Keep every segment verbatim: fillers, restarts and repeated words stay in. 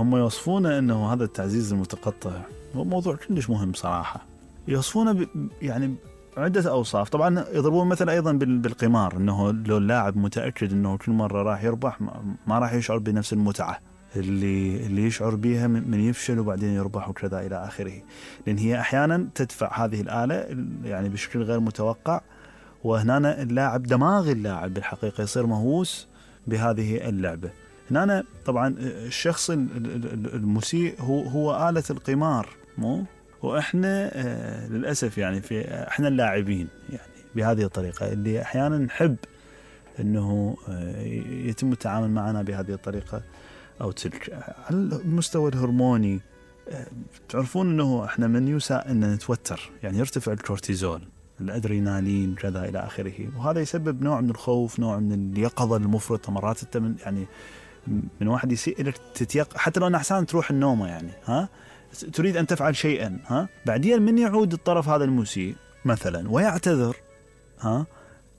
هم يوصفونه أنه هذا التعزيز المتقطع هو موضوع كلش مهم صراحة. يوصفونه ب يعني عدة أوصاف. طبعا يضربون مثل أيضا بالقمار، أنه لو اللاعب متأكد أنه كل مرة راح يربح ما راح يشعر بنفس المتعة اللي اللي يشعر بها من يفشل وبعدين يربح وكذا إلى آخره، لأن هي أحيانا تدفع هذه الآلة يعني بشكل غير متوقع، وهنا اللاعب دماغ اللاعب بالحقيقة يصير مهووس بهذه اللعبة. هنا طبعا الشخص المسيء هو هو آلة القمار، مو وإحنا آه للأسف يعني في إحنا اللاعبين يعني بهذه الطريقة اللي أحيانا نحب إنه آه يتم التعامل معنا بهذه الطريقة أو تلك. على المستوى الهرموني آه تعرفون إنه إحنا من يساء إن نتوتر، يعني يرتفع الكورتيزول، الأدرينالين كذا إلى آخره، وهذا يسبب نوع من الخوف، نوع من اليقظة المفرطة. مرات أنت من يعني من واحد يسيء لك تتيق حتى لو نحسان تروح النومة، يعني ها تريد أن تفعل شيئا، ها بعدين من يعود الطرف هذا المسيء مثلا ويعتذر، ها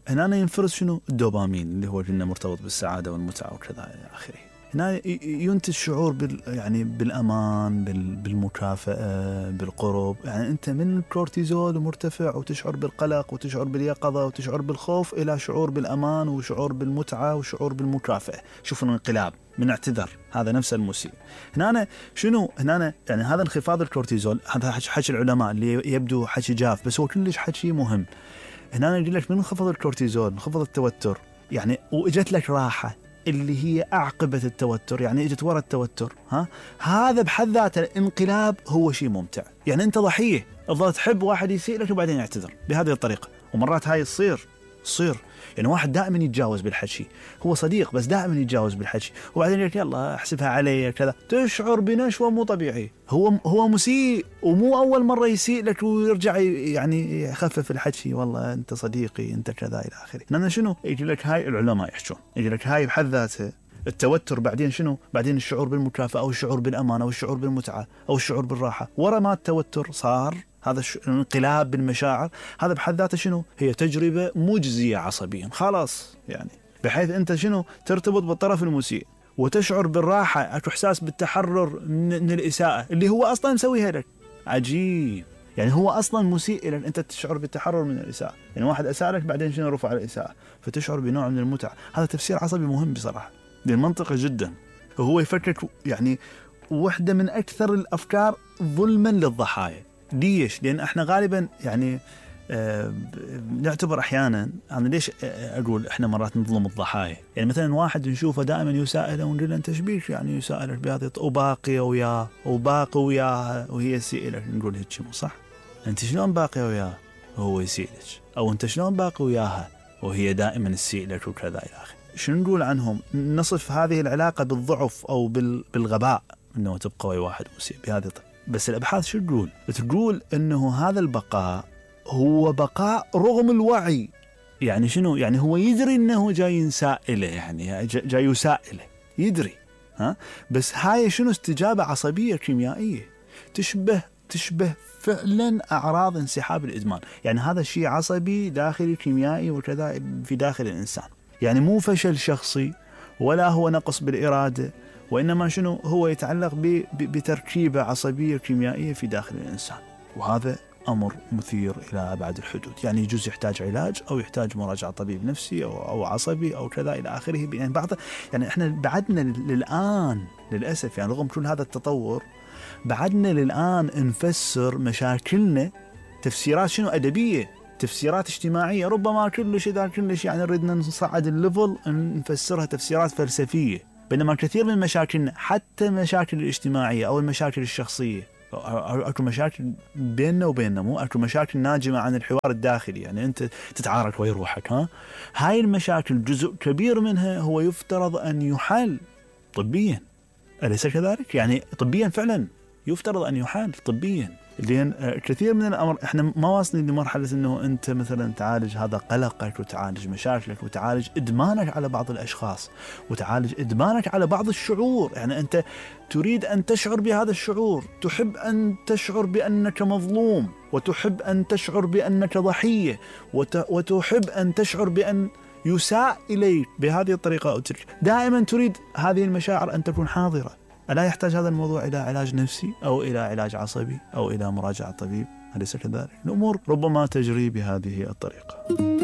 هنا ينفرز شنو الدوبامين اللي هو جنة مرتبط بالسعادة والمتعة وكذا إلى آخره. هنا ينتج شعور بال يعني بالأمان، بال بالمكافأة، بالقرب. يعني أنت من الكورتيزول مرتفع وتشعر بالقلق وتشعر باليقظة وتشعر بالخوف إلى شعور بالأمان وشعور بالمتعة وشعور بالمكافأة. شوفوا الانقلاب من اعتذر هذا نفس المسيء. هنا شنو هنا يعني هذا انخفاض الكورتيزول، هذا حكي العلماء اللي يبدو حكي جاف بس هو كلش حكي مهم. هنا يقول لك من انخفض الكورتيزول انخفض التوتر، يعني واجت لك راحة اللي هي أعقبة التوتر، يعني اجت ورا التوتر، ها هذا بحد ذاته الانقلاب هو شيء ممتع. يعني أنت ضحية تظل تحب واحد يسيء لك وبعدين يعتذر بهذه الطريقة، ومرات هاي تصير تصير يعني واحد دائما يتجاوز بالحكي، هو صديق بس دائما يتجاوز بالحكي، وبعدين يقول يلا احسبها علي كذا، تشعر بنشوة مو طبيعي. هو هو مسيء ومو أول مرة يسيء لك ويرجع يعني يخفف الحكي، والله أنت صديقي أنت كذا إلى آخره. لأن شنو يجي لك هاي العلماء يحكون، يجي لك هاي بحد ذاتها التوتر، بعدين شنو بعدين الشعور بالمكافأة أو الشعور بالأمان أو الشعور بالمتعة أو الشعور بالراحة. ورا ما التوتر صار هذا الانقلاب بالمشاعر، هذا بحد ذاته شنو هي تجربة مجزية عصبيا خلاص، يعني بحيث أنت شنو ترتبط بالطرف المسيء وتشعر بالراحة، أكو إحساس بالتحرر من الإساءة اللي هو أصلا مسويها لك. عجيب، يعني هو أصلا مسيء لك، أنت تشعر بالتحرر من الإساءة. يعني واحد أساء لك بعدين شنو رفع الإساءة فتشعر بنوع من المتعة. هذا تفسير عصبي مهم بصراحة، منطقي جدا. وهو يفكك يعني واحدة من أكثر الأفكار ظلما للضحايا. ليش؟ لأن احنا غالبا يعني آه نعتبر أحيانا، أنا ليش أقول احنا مرات نظلم الضحايا؟ يعني مثلا واحد نشوفه دائما يسائله ونقول له أنت شبيك يعني يسائلك بهذه وباقي وياه وباقي وياها وهي تسيء لك، نقول هيك مو صح. أنت شلون باقي وياه وهو يسيء لك؟ أو أنت شلون باقي وياها وهي دائما تسيء لك وكذا إلى آخره. شنو نقول عنهم؟ نصف هذه العلاقة بالضعف أو بالغباء، أنه تبقى ويا واحد مسيء بهذه الطريقة. بس الأبحاث شو تقول؟ تقول أنه هذا البقاء هو بقاء رغم الوعي. يعني شنو؟ يعني هو يدري أنه جاي يسائله، يعني جاي يسائله يدري، ها؟ بس هاي شنو استجابة عصبية كيميائية تشبه تشبه فعلا أعراض انسحاب الإدمان. يعني هذا شيء عصبي داخلي كيميائي وكذا في داخل الإنسان، يعني مو فشل شخصي ولا هو نقص بالإرادة، وإنما شنو هو يتعلق بتركيبة عصبية كيميائية في داخل الإنسان. وهذا أمر مثير إلى أبعد الحدود، يعني يجوز يحتاج علاج أو يحتاج مراجعة طبيب نفسي أو, أو عصبي أو كذا إلى آخره. يعني بعض يعني إحنا بعدنا للآن للأسف، يعني رغم كل هذا التطور بعدنا للآن نفسر مشاكلنا تفسيرات شنو أدبية، تفسيرات اجتماعية، ربما كلش إذا كلش يعني ردنا نصعد الليفل نفسرها تفسيرات فلسفية. بينما كثير من مشاكلنا حتى مشاكل الاجتماعية أو المشاكل الشخصية، أكو مشاكل بيننا وبيننا، مو أكو مشاكل ناجمة عن الحوار الداخلي، يعني أنت تتعارك ويا روحك، ها هاي المشاكل جزء كبير منها هو يفترض أن يحل طبيا، أليس كذلك؟ يعني طبيا فعلا يفترض أن يحل طبيا. لأن كثير من الأمر إحنا ما واصلين لمرحلة أنه أنت مثلا تعالج هذا قلقك وتعالج مشاكلك وتعالج إدمانك على بعض الأشخاص وتعالج إدمانك على بعض الشعور. يعني أنت تريد أن تشعر بهذا الشعور، تحب أن تشعر بأنك مظلوم، وتحب أن تشعر بأنك ضحية، وتحب أن تشعر بأن يساء إليك بهذه الطريقة أو تلك. دائما تريد هذه المشاعر أن تكون حاضرة. ألا يحتاج هذا الموضوع إلى علاج نفسي أو إلى علاج عصبي أو إلى مراجعة طبيب؟ أليس كذلك؟ الأمور ربما تجري بهذه الطريقة.